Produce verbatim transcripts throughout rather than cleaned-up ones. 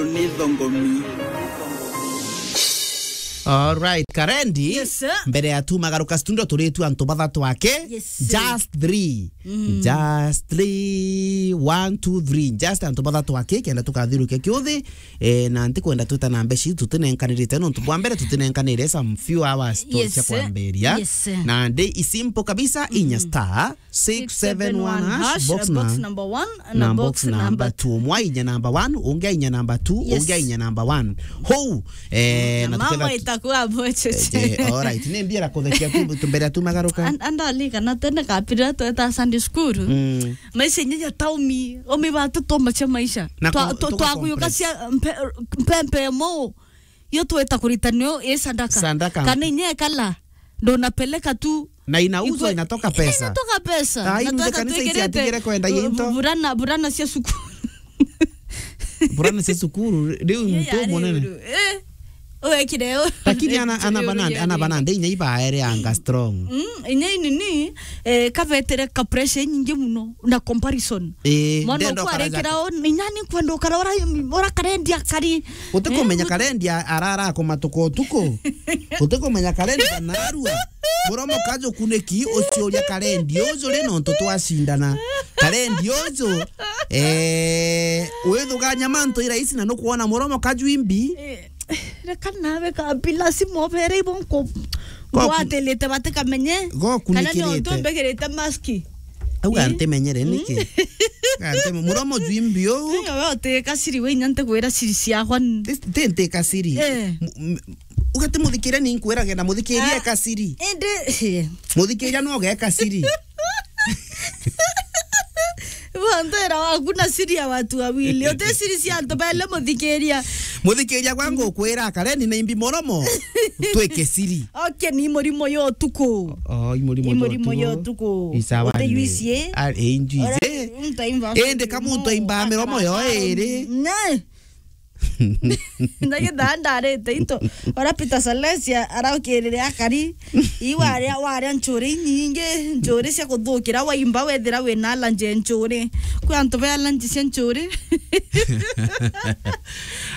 Ni thongomi. Alright, Karendi. Yes, sir. Mbere ya tumagaruka studio, turitu antu bathatu ake. Yes, sir. Just three. Mm. Just three. One, two, three. Just antu bathatu ake, kenda tukathiruke kiuthi. Eh, na ntikwenda twita na mbeca ici tutinenkanirite, nontu bwa mbere tutinenkanire some few hours to Yes, cia sir. Kwambiria. Yes, sir. Na ndi i simple kabisa, inya Mm. star six seven one hash, box box na number one na na box box number number two. Umwe ainya number one, ungi ainya number two, Yes. ungi ainya number one. Hou, eh, Na na mambo tuketha tu- itakuwa mocheche. Eh, eh, alright. Ni mbira kuthekia tu, tu mbere ya tumagaruka. And, and ali kana tene kapira tweta Sunday school. Mm. Maisha nyenye taumi, omi batu toma cia maisha. Na Twa-, ku-, twa-, tugakompress. Twakuyuka cia mpe-, mpempe mo. Yo tweta kuritania i sadaka. Sadaka. Kana inya ekala, ndo napeleka tu. Na inauzwa, Ikwe-, inatoka pesa. Inatoka pesa. Ah, Na inuze tweka kanisa twikirite, iciatigire kwenda uh, into. Burana, burana cia cukuru. Burana cia cukuru, riu Ye mtu yari munene. Uru. Eh. Uwekire u-, Lakini ana, ana Uru banande, yari ana uru. Banande, inya ibaere anga strong. Mm, inya inini, eh, kabetere ka pressure nyingi muno na comparison. Eh, Mwana ndenda ukwarikira ukaraja- o, inya ni kwenda ukara ora, ora karendi akari. Utikumenya Eh, karendi a-, arara kumatuka utuku. Utikumenya karendi anarua. Muromo kaju kuniki uciuria karendi uju ri nontu twacindana. Karendi uju, eh, withuganya mantu iraisi na nukwona muromo kaju imbi. Eh, reka nawe kabila simu obere ibo nku-, Go ku- ngwatilite batikamenye. Go Kana ni kunikirite. Ontu mbigirite maski. Au Eh? Antimenyere niki? Antime-, muromo jwimbi uu. Tiga we utika siri, we inya ntigwira siri ciakwa n- Ti, ti ntika siri. Eh. M-, m-, ugati muthikiria ni nkwirage na muthikiria Ah. Eka siri. Indi, eh. Muthikiria no geka siri. Wantera waku na siri ya watu wawili. Uti siri cia antu bele muthikiria. Muthikiria gwa ngukwira kareni na imbi muromo. Twike siri. Okay, ni murimo yo tuku. Oh, i murimo Ni yo murimo tuku. Yo tuku. Isawa Uti ni. Yuici, eh? Ah, eh, injuici. Ora, eh. Untu aimba Indi kamuntu aimba miromo yo iri. Ne. Ndagithaa ndarite into. Ora Peter Salesia araukirire akari. Ii waria, waria nchuri inyingi, nchuri cia kuthukira waimba wethira wina allergy ya nchuri. Kwi antu be allergy cia nchuri.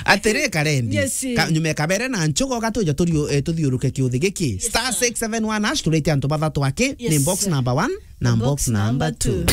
Atiri karendi. Yes. Ka-, nyume kabere na nchugo gatuja turio-, eh, tuthiuruke kiuthi giki. Yes, star six seven one hash turite antu bathatu aki. Yes. Ni box number one na box number two.